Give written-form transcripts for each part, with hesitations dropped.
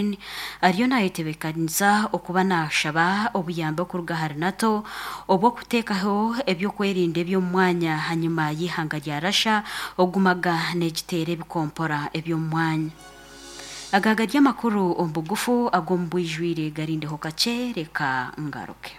Ukraine ariyo nayetebekanisa okuba nashaba obuyambi okuruga ahari NATO obw'okuteekaho eby'okwerinda eby'omu mwanya hanyima y'eihanga rya Russia okugumaga negiteera ebikompora eby'omu mwanya. Aga gari amakuru omu bugufu ag'omu bwijwire garindeho kakye reka ngaruke.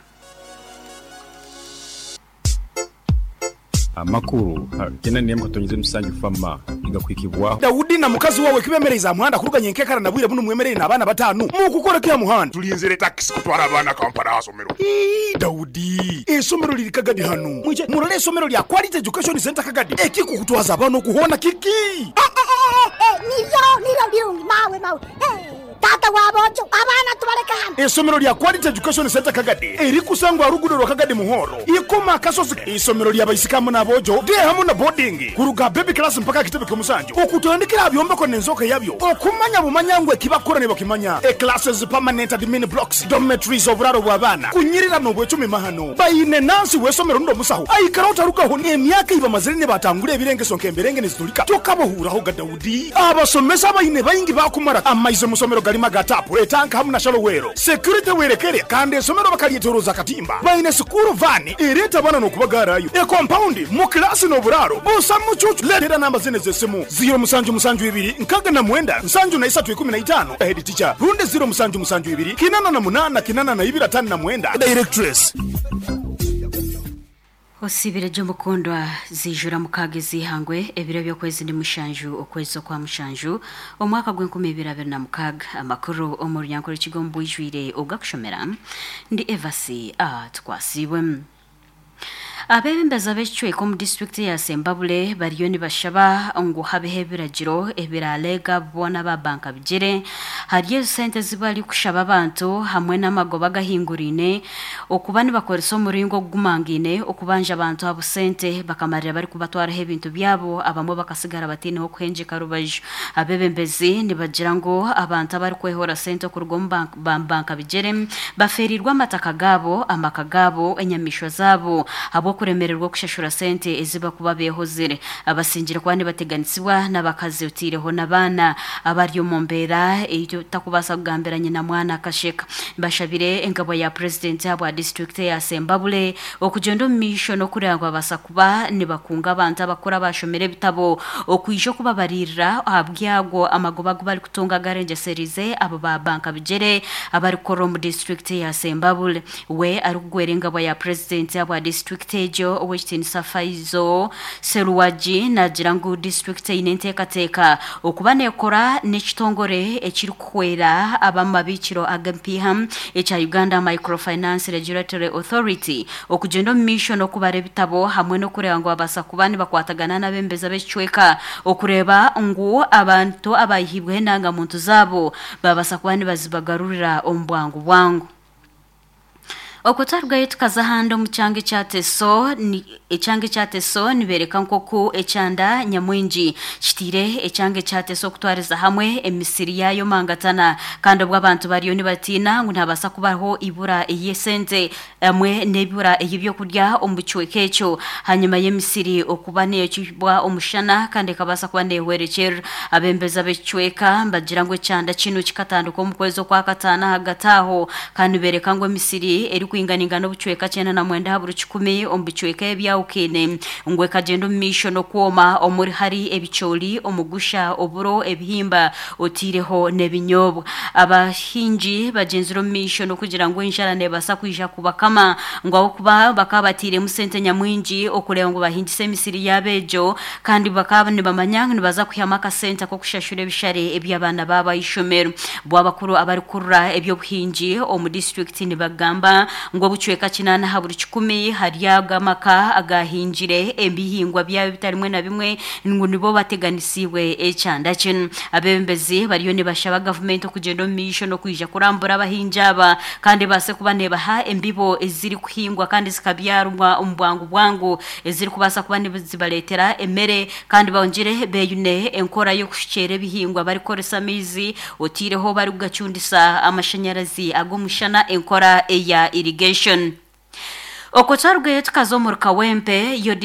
Amakuru gena n'emwe katonyize musanju fama nigakuhikibwaho. Daudi na mukazi wawe kibemereize aha muhanda kuruga nyenkekara na bwire bunu mwemereire n'abaana batanu mukukora ki aha muhanda? Tulinzire takisi kutwara abaana Kampala aha somero. Ii, Daudi, eisomero liri Kagadi hanu. Mwije murole eisomero lya Quality Education Centre Kagadi. Ekikukutwaza abaana oku hoona kiki? Eh, nibyo nibyo birungi mawe mawe. Eh, taata wa boojo, abaana tubaleke hano. Eisomero lya Quality Education Centre Kagadi erikusangwa aha luguudo rwa Kagadi Muhoro, Ikoma Akasozi. Eisomero lya baisiki hamu n'aboojo, day hamu na boarding, kuruga aha baby class mpaka aha kitebe ky'omusanju, okutandikira aha byombeko n'enzooka yabyo, okumanya bumanya ngu ekibakukora nibakimanya, e classes, permanent admin blocks, dormitories, oburaaro bw'abaana, kunyirira n'obwecumi mahano. Baine nansi w'eisomero rundi omusaho aikara otarugaho n'emyaka ei bamazire nibatangura ebirengeso nk'emberenge niziturika tokabahuuraho ga Daudi. Abasomesa abaine baingi baakumara amaizi omu somero garimu aga taapu, etanka hamu na shallow well. Security werekere kandi eisomero bakaryetoroza akatimba. Baine sikuuru vaani ereeta abaana n'okubagaarayo, ekompaundi mu kilaasi n'oburaaro busa mucuucu. Leetera namba zinu ez'esimu, ziiro musanju musanju ibiri nkaga na mwenda nsanju na isatu ikumi na itaano, Head teacher, rundi ziiro musanju musanju ibiri kinana na munana kinana na ibiri atano na mwenda, Directress. Osiibire gye omukundwa, ziijura mukaaga ez'eihangwe, ebiro by'okwezi ni mushanju okwezi okwa mushanju, omwaka gw'enkumi ibiri abiri na mukaaga. Amakuru omu Runyankore Kigo omu bwijwire ogakushomera, ndi Evasi Atukwasiibwe. Abeebembezi ab'ekicweka omu disiturikiti eya Sembabule bariyo nibashaba ngu habeho ebiragiro ebirareega abo boona aba banka bigyere ahari ezo sente ezi barikushaba abantu hamwe n'amagoba agahinguraine okuba nibakoresa omuringo ogugumangaine okubanja abantu abo sente bakamarira barikubatwaraho ebintu byabo abamwe bakasigara bataine h'okuhengyeka rubaju. Abeebembezi nibagira ngu abantu abarikwehora sente okuruga omu banka bigyere bafeereirwe amataka gaabo, amaka gaabo, enyamaishwa zaabo ahabw'okuremererwa okushashura sente ezi barikuba beehozire. Abasingire kuba nibateganisibwa n'abakazi otaireho n'abaana abari omu mbeera ei otakubaasa kugambira nyina mwana akasheka. Bashabire engabwa ya Purezidenti ahabwa disiturikiti eya Sembabule okugyenda omu maisho n'okureeba ngu babaasa kuba nibakunga abantu abakuru abaashomire ebitabo okwija okubabariirira aha byago amagoba agu barikutunga agarengyesereize abo ba banka bigyere abarikukorera omu disiturikiti eya Sembabule. We arikugwera engabwa ya Purezidenti ahabwa disiturikiti egyo, Ow'ekitiinisa Faizo Seruwagi naagira ngu disiturikiti eine enteekateeka okuba neekora n'ekitongore ekirikuhwera ab'amabiikiro ag'empiiha ekya Uganda Microfinance Regulatory Authority okugyenda omu maisho n'okubara ebitabo hamwe n'okureeba ngu babaasa kuba nibakwatagana n'abeebembezi ab'ekicweka okureeba ngu abantu abaihibweho endanga-muntu zaabo baabaasa kuba nibazibagarurira omu bwangu bwangu. Okwo twarugayo tukaza ahandi omu kyanga ekya Teso, ni, ekyanga ekya Teso nibeereka nk'oku ekyanda nyamwingi kitaire ekyanga ekya Teso kutwariza hamwe emisiri yaayo mangatana kandi obwo abantu bariyo nibatiina ngu nihabaasa kubaho eibura ey'esente hamwe n'eibura ey'ebyokurya omu kicweka ekyo hanyima y'emisiri okuba neeyokibwa omushana kandi ekabaasa kuba neehwerekyerera. Abeebembezi ab'ekicweka nibagira ngu ekyanda kinu kikatandika omu kwezi Okwakataano ahagati aho kandi nibeereka ngu emisiri erikwinganingana obucweka 99 aha buri kikumi omu bicweka ebyahukine ngu ekagyenda omu maisho n'okwoma omuri hari ebicoori, omugusha, oburo, ebihimba otaireho n'ebinyobwa. Abahingi bagyenzire omu maisho n'okugira ngu enjara neebaasa kwija kubakama ngu ahabw'okuba bakaba batairemu sente nyamwingi okureeba ngu bahingisa emisiri yaabo egyo Kandi bakaba nibamanya ngu nibaza kwihamu akasente ak'okushashura ebishare eby'abaana baabo aha ishomero. Bo abakuru abarikurura eby'obuhingi omu disiturikiti nibagamba ngu obucweka kinaana aha buri kikumi hari ago amaka agaahingire ebihingwa byabo ebitarimwe na bimwe ngu nibo bateganisiibwe ekyanda kinu. Abeebembezi bariyo nibashaba gavumenti okugyenda omu maisho n'okwija kurambura abahingi aba kandi ebaase kuba neebaha embibo ezirikuhingwa kandi zikabyarwa omu bwangu bwangu ezirikubaasa kuba nizibareetera emere kandi bongyere beeyune enkora y'okushukyera ebihingwa barikukoresa amaizi otaireho barikugacundisa amashanyarazi ag'omushana enkora eya irrigation. Okwo twarugayo tukaza omuri Kawempe yo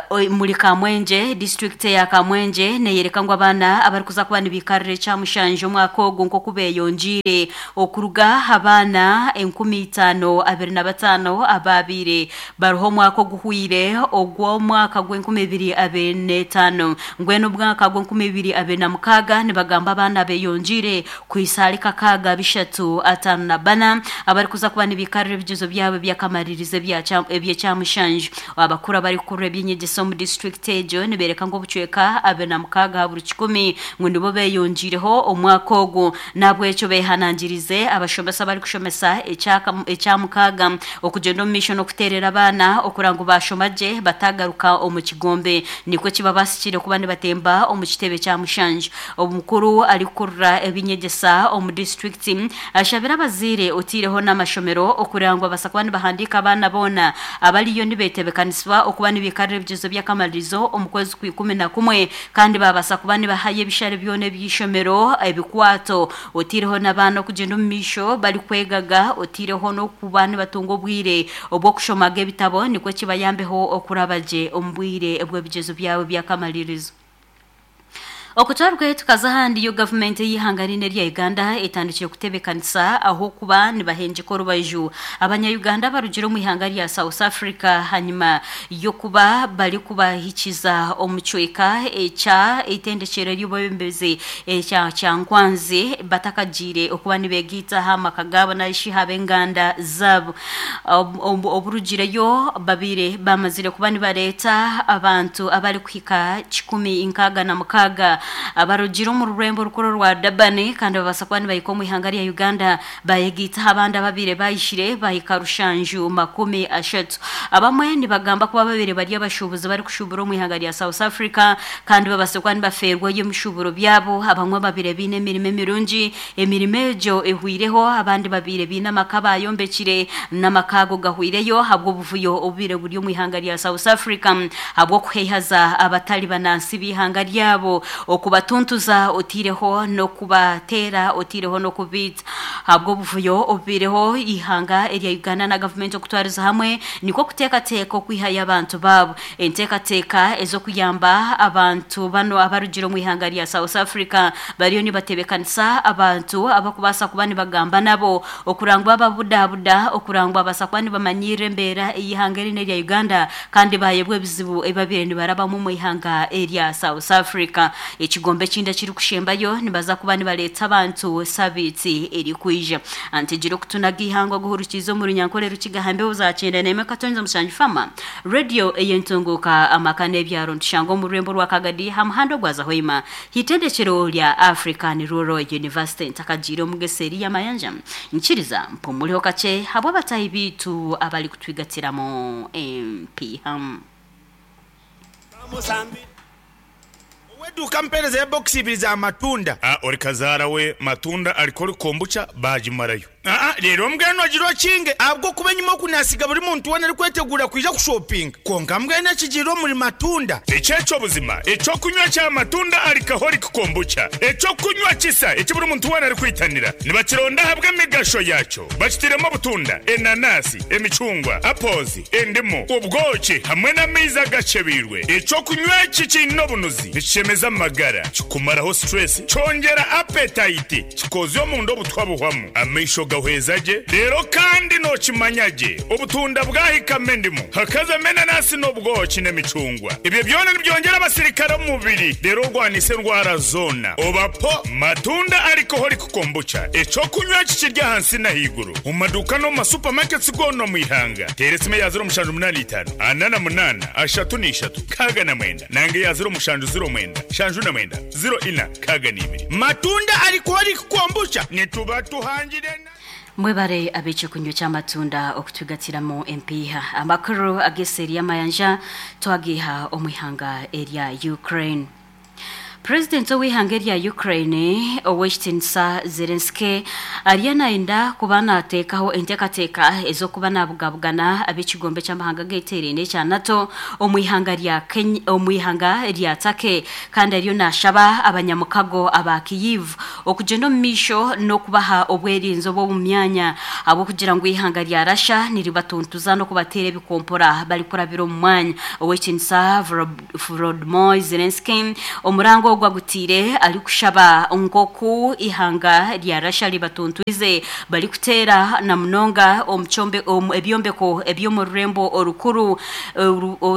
omuri Kamwengye, disiturikiti eya Kamwengye neyoreka ngu abaana abarikuza kuba nibikarira ekyamushanju omwaka ogu nk'oku beyongyeire okuruga aha baana 5,025 abaabaire bariho omwaka oguhweire ogw'omwaka gw'enkumibiri25 mbwenu omwaka gw'enkumibiri26 nibagamba abaana beyongyeire kuhisa ahari 6354 abarikuza kuba nibikarira ebigyezo byabo eby'akamaririzo eby'ekyamushanju. Abakuru abarikukurira eby'enyegyesa omu disiturikiti egyo nibeereka ngu obucweka 26 aha buri kikumi ngu nibo beeyongiireho omwaka ogu. N'ahabw'ekyo beehanangirize abashomesa abarikushomesa ekyamukaaga okugyenda omu maisho n'okuteerera abaana okura ngu baashoma gye bataagaruka omu kigombe nikwo kibabaasikire kuba nibatemba omu kitebe kya mushanju. Omukuru arikukurira eby'enyegyesa omu disiturikiti ashabire abazaire oteireho n'amashomero okureba ngu babaasa kuba nibahandiika abaana boona abariyo nibeteebekanisibwa okuba nibiikarira ebigyezo by'akamaririzo omu kwezi kwa 11 kandi baabaasa kuba nibahayo ebishare byona eby'eishomero ebikwato oteireho n'abaana okugyenda omu maisho barikwegaga oteireho n'okuba nibatunga obwire obw'okushomaga ebitabo nikwo kibayambeho okuraba gye omu bwire bw'ebigyezo byabo by'akamaririzo. Okutwarwayo tukaza ahandi yo gavumenti ey'eihanga riine erya Uganda etandikire kutebekanisa ahu okuba nibahengyeka orubaju abanya Uganda abarugire omu ihanga rya South Africa hanyima y'okuba barikubahikiza omu kicweka ekya eitendekyero ery'obwebembezi ekya Kyankwanzi batakagiire okuba nibegaita aha maka gaabo narishi aha b'enganda zaabo. Oburugireyo babaire bamazire kuba nibareeta abantu abarikuhika 166 abarugire omu rurembo orukuru orwa Durban kandi babaasa kuba nibahika omu ihanga rya Uganda bayegaita aha bandi ababaire bahikire bahika 730. Abamwe nibagamba kuba babaire bari abashuubuzi barikushuubura omu ihanga rya South Africa kandi babaasa kuba nibafeerwayo emishuuburo byabo. Abamwe ababaire baine emirimo emirungi, emirimo egyo ehweireho, abandi babaire baine amaka bayombekire n'amaka ago gahweireyo ahabw'obuvuyo obubaire buri omu ihanga rya South Africa ahabw'okuheihaza abatari banansi b'eihanga ryabo, okubatuntuza oteireho n'okubateera oteireho n'okubaita. Ahabw'obuvuyo obubaireho, eihanga erya Uganda na gavumenti okutwariza hamwe nikwo kuteekateeka okwihayo abantu baabo. Enteekateeka ez'okuyamba abantu banu abarugire omu ihanga rya South Africa bariyo nibatebeekanisa abantu abarikubaasa kuba nibagamba nabo okurangwa bababudabuda, okurangwa babaasa kuba nibamanyiirira embeera ey'eihanga eri n'erya Uganda kandi baayebwa ebizibu ebi babaire nibarabamu omu ihanga erya South Africa. Ekigombe ekindi ekirikushembayo nibaza kuba nibareeta abantu sabiiti erikwija. Antegire okutunaga eihangwe aguhurukiize omu Runyankore Rukiga aha mbeho za 91.7 Fama Radio ey'entunguuka amaka n'ebyaro nitushangwa omu rurembo rwa Kagadi aha muhanda ogwaza Hoima h'eitendekero rya African Rural University. Ntakagiire omu geseeri y'amayanja nyikiriza mpumureho kakye habw'abataahi baitu abarikutwigatiramu empiiha. Ow'eduuka ampeereza ya bokisi ibiri za matunda. A Ori kazaara we matunda alcoholic kombucha baagimarayo. Aa Reero mbwenu ogire okinge ahabw'okuba enyima oku naasiga buri muntu weena arikweteguura kwija kushopinga. Kwonka mbwenu ekigiire omuri matunda. Eki eky'obuzima eky'okunywa kya matunda alcoholic kombucha, eky'okunywa kisa eki buri muntu weena arikwitanira. Nibakironda ahabw'emigasho yaakyo. Bakitairemu obutunda, enanasi, emicungwa, apples, endimu, obwoki hamwe n'amaizi agakyebeirwe. Eky'okunywa eki kiine obunuzi, nikishemeza amagara, kikumaraho stress, kyongyera appetite, kikozya omunda obutwa buhwamu, amaisho gahweza gye, reero kandi nookimanya gye obutunda bwahikamu endimu, hakazamu enanasi n'obwoki n'emicungwa. Ebyo byona nibyongyera abasirikare omu mubiri reero orwanise endwara zoona. Oba po matunda alcoholic kombucha, eky'okunywa eki kiri ahansi n'ahaiguru omu maduuka n'omu ma supermarkets goona omu ihanga. Teera esimu eya 0785 48 33 69 nanga eya 0709 79 04 62. Matunda alcoholic kombucha nituba tuhangire na. Mwebare ab'eky'okunywa ky'amatunda okutwigatiramu empiiha. Amakuru ag'eseeri y'amayanja twagaiha omu ihanga erya Ukraine. Purezidenti ow'eihanga erya Ukraine Ow'ekitinisa Zelensky ariyo nayenda kuba nateekaho enteekateeka ez'okuba nabugabugana ab'ekigombe ky'amahanga ageteeraine ekya NATO omu ihanga rya Kenya omu ihanga rya Turkey kandi ariyo nashaba abanyamukago aba Kyiv okugyenda omu maisho n'okubaha obwerinzi obw'omu myanya ahabw'okugira ngu eihanga rya Russia niribatuntuza n'okubateera ebikompora barikurabira omu mwanya. Ow'ekitinisa Volodymyr Zelensky omuranga ogu agutiire arikushaba nk'oku eihanga rya Russia ribatuntwize barikuteera na munonga omu ebyombeko eby'omu rurembo orukuru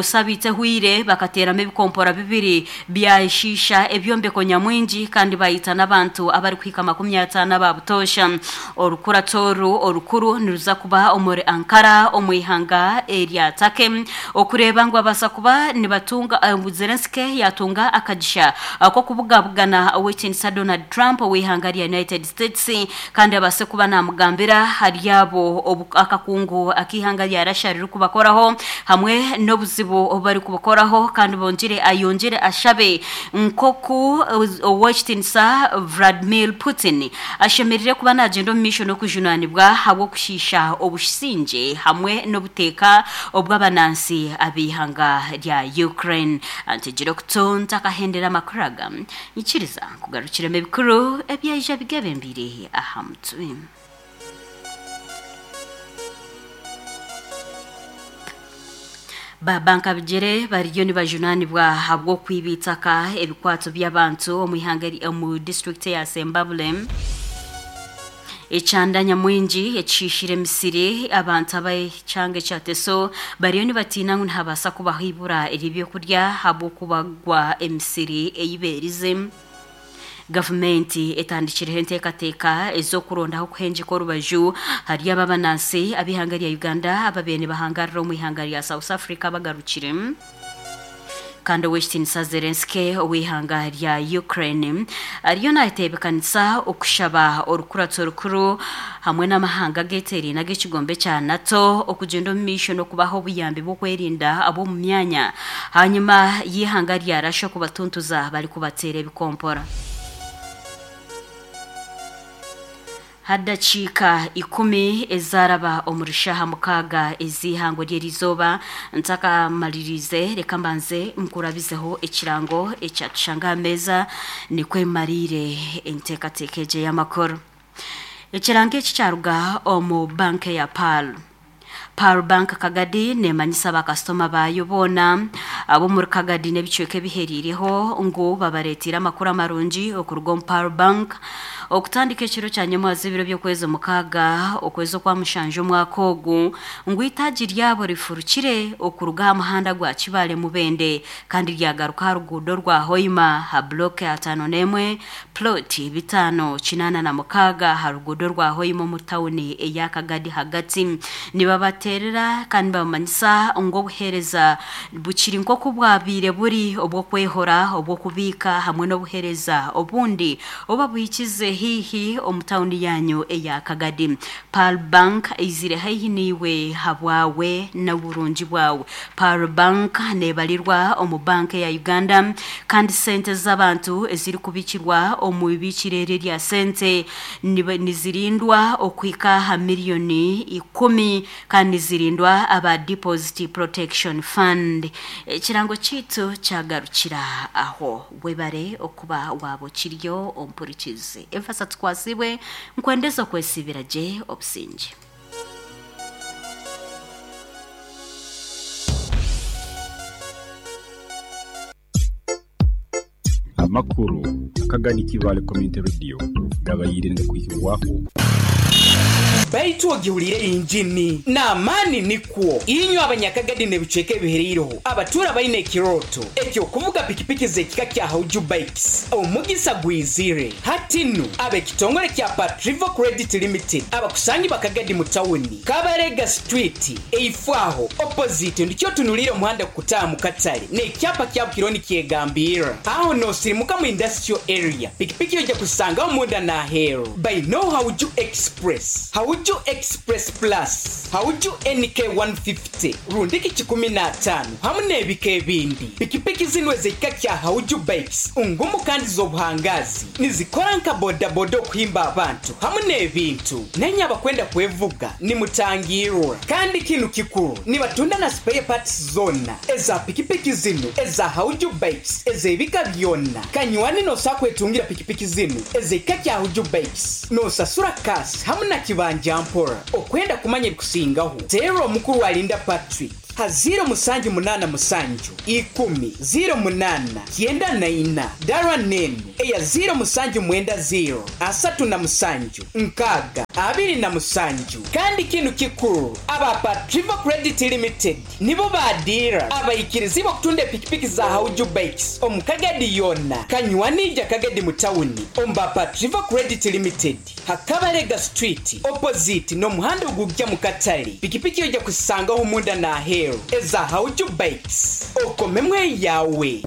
Sabiiti ehweire bakateeramu ebikompora bibiri byashiisha ebyombeko nyamwingi kandi baita n'abantu abarikuhika 50 aba butoosha. Orukurato oru orukuru niruza kuba omuri Ankara omu ihanga erya Turkey okureeba ngu babaasa kuba nibatunga ngu Zelensky yaatunga akagisha k'okubugabugana Ow'ekitinisa Donald Trump ow'eihanga rya United States kandi abaase kuba naamugambira ahari abo obu akakungu ak'eihanga rya Russia ririkubakoraho hamwe n'obuzibu obu barikubukoraho kandi bongyere ayongyere ashabe nk'oku Ow'ekitinisa Vladimir Putin ashemerire kuba naagyenda omu maisho n'okujunaanibwa ahabw'okushiisha obusingye hamwe n'obuteeka obw'abanansi ab'eihanga rya Ukraine. Ntegire okutu ntakahendera amakuru aga, nyikiriza nkugarukiremu ebikuru ebyaija bigebembeire aha mutwe. Ba bankabigyere bariyo nibajunaanibwa ahabw'okwiba eitaka ebikwato by'abantu omu ihanga omu disiturikiti eya Sembabule. Ekyanda nyamwingi ekishiishire emisiri, abantu ab'ekyanga ekya Teso bariyo nibatiina ngu nihabaasa kubaho eibura ery'ebyokurya ahabw'okubagwa emisiri ei beerize. Gavumenti etandikireho enteekateeka ez'okurondaho okuhengyeka orubaju ahari abo abanansi ab'eihanga rya Uganda ababaire nibahangarira omu ihanga rya South Africa bagarukire. Kandi Ow'ekitiinisa Zelensky ow'eihanga rya Ukraine ariyo naateebekanisa okushaba orukurato rukuru hamwe n'amahanga ageteeraine ag'ekigombe kya NATO okugyenda omu maisho n'okubaha obuyambi bw'okwerinda ab'omu myanya Hanyima y'eihanga rya Russia kubatuntuza barikubateera ebikompora. Hadakiika ikumi ezaraba omuri shaaha mukaaga ez'eihangwe ry'erizooba, ntakamaririize reka mbanze nkurabizeho ekirango ekyatushanga aha meeza nikwo emariire enteekateeka egi ey'amakuru. Ekirango eki kyaruga omu banka eya Pearl. Pearl Bank Kagadi neemanyisa baakasitoma baayo boona ab'omuri Kagadi n'ebicweka ebihereireho ngu babareeteire amakuru amarungi okuruga omu Pearl Bank okutandika ekiro kya nyamwaza ebiro by'okwezi mukaaga okwezi okwa mushanju omwaka ogu ngu eitaagi ryabo rifurukire okuruga aha muhanda gwa Kibaale Mubende kandi ryagaruka aha ruguudo rwa Hoima aha block 51 Plot 586 aha ruguudo rwa Hoima omu tauni eya Kagadi hagati. Nibabateerera kandi nibabamanyisa ngu obuheereza bukiri nk'oku bwabaire buri obw'okwehora, obw'okubiika hamwe n'obuheereza obundi obu babuhikize haihi omu tauni yaanyu eya Kagadi. Pearl Bank eizire haihi naiwe habwawe n'oburungi bwawe. Pearl Bank neebarirwa omu banka eya Uganda kandi sente z'abantu ezirikubikirwa omu ibiikiro eri erya sente nizirindwa okuhika aha miriyoni ikumi kandi nizirindwa aba Deposit Protection Fund. Ekirango kyaitu kyagarukira aho. Webare okuba waaba okiriyo ompurikize. Enfasa tukwatsibwe, nkwendeze okwesiibira gye obusingye. Amakuru akagani Kibaale Community Radio gabaire nigakwihibwaho. Baitu ogihuriire engini n'amaani nikwo. Inywe Abanyakagadi n'ebicweka ebihereireho abatuura baine ekirooto eky'okuvuga pikipiki z'ekika kya Hauju Bikes, omugisa gwizire. Hati nu, ab'ekitongore kya Patrivo Credit Limited abakusangibwa Kagadi mu tawuni, Kabarega Street, eifo aho, opposite, ndikyo otunuliire omuhanda kukutaaha mu katale n'ekyapa kyabo kiriho nikyegambirra. Aho noosirimuka mu Industrial Area, pikipiki oija kuzisangaho munda n'aheeru. Baine Hauju Express, Hauju. Hauju Express Plus, Hauju NK 150 rundiki 150 hamu n'ebika ebindi. Pikipiki zinu ez'ekika kya Hauju Bikes ngumu kandi z'obuhangaazi. Nizikora nka bodaboda okuhimba abantu hamu n'ebintu. Nainye abakwenda kwevuga nimutangiirwa. Kandi kinu kikuru, nibatunda na spare parts zoona eza pikipiki zinu eza Hauju Bikes ez'ebika byona. Kanywani nosobola kwetungira pikipiki zinu ez'ekika kya Hauju Bikes nosasura cash hamu na kibanja mpora. Okwenda kumanya ebikusingaho, teera omukuru Alinda Patrick ha ziiro musanju munaana musanju, ikumi, ziiro munaana, kyenda na ina, dara n'enu eya ziiro musanju mwenda ziiro, 37, 60, 27. Kandi kinu kikuru, aba Patrivo Credit Limited nibo ba diira abaikirizibwe okutunda epikipiki za Hauju Bikes omu Kagadi yoona. Kanywani ija Kagadi mu tawuni omu ba Patrivo Credit Limited ha Kabalega Street opposite n'omuhanda ogugya mu katale. Pikipiki oija kuzisangaho munda n'aheeru eza Hauju Bikes. Okomemu eyaawe.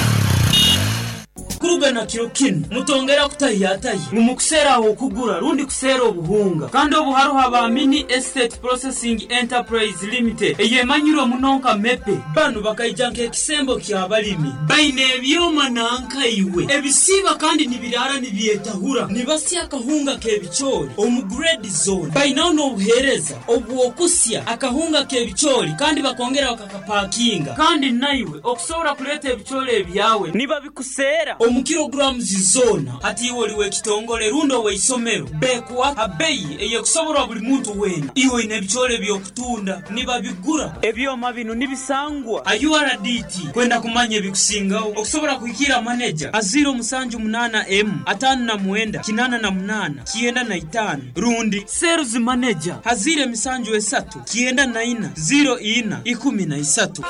Kuruga na kiro kinu, mutongera kutahiyatahya ngu mukuseera ah'okugura rundi kuseera obuhunga. Kandi obu haroho aba Mini Estate Processing Enterprise Limited eyemanyirwe muno nka MEPE. Banu bakaija nk'ekisembo ky'abalimi. Baine ebyoma nanka iwe ebisiiba kandi nibiraara nibyetahura, nibasya akahunga k'ebicoori omu grade zoona. Bainaho n'obuheereza obw'okusya akahunga k'ebicoori kandi bakongera bakakapakinga. Kandi naiwe okusobora kuleeta ebicoori ebyawe nibabikuseera omu kilograms zoona. Hati iwe oli w'ekitongole rundi ow'eisomero, beekuha ha beyi ey'ekusoborwa buli muntu weena. Iwe oine ebicoori eby'okutunda, nibabigura. Ebyoma binu nibisangwa ha URDT. Kwenda kumanya ebikusingaho, okusobora kuhikiira maneja ha 078 emu 59 88 95 rundi Sales Manager ha 073 94 04 13.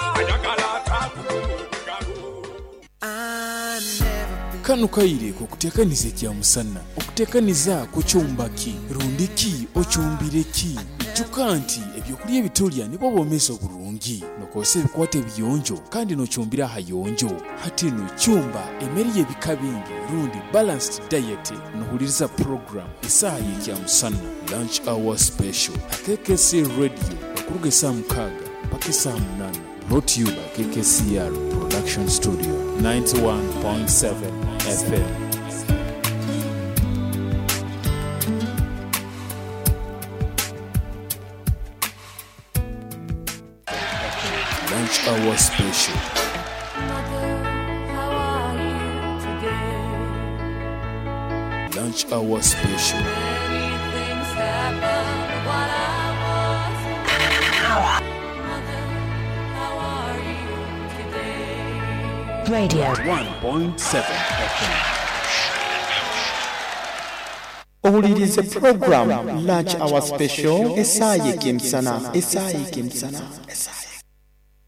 Kanu kaire k'okuteekaniza ekyamusana. Okuteekaniza kucumba ki? Rundi ki ocumbire ki? Ijuka nti eby'okulya ebi tulya nibwo bwomeezi oburungi. Nokozesa ebikwato ebiyonjo kandi nocumbira ahayonjo. Hati nu cumba emere y'ebika bingi rundi balanced diet nohuliriza program Esaaha y'Ekyamusana, Lunch Hour Special, ha KKC Radio okuruga esaaha mukaaga mpaka esaaha munana. Brought to you by KKCR Production Studio, 91.7 FM. Lunch Hour Special. Lunch Hour Special. Radio. 1.7 FM. Owuliriize pulogulaamu Lunch Hour Special, Esaaha y'Ekemisana, Esaaha y'Ekemisana, Esaaha.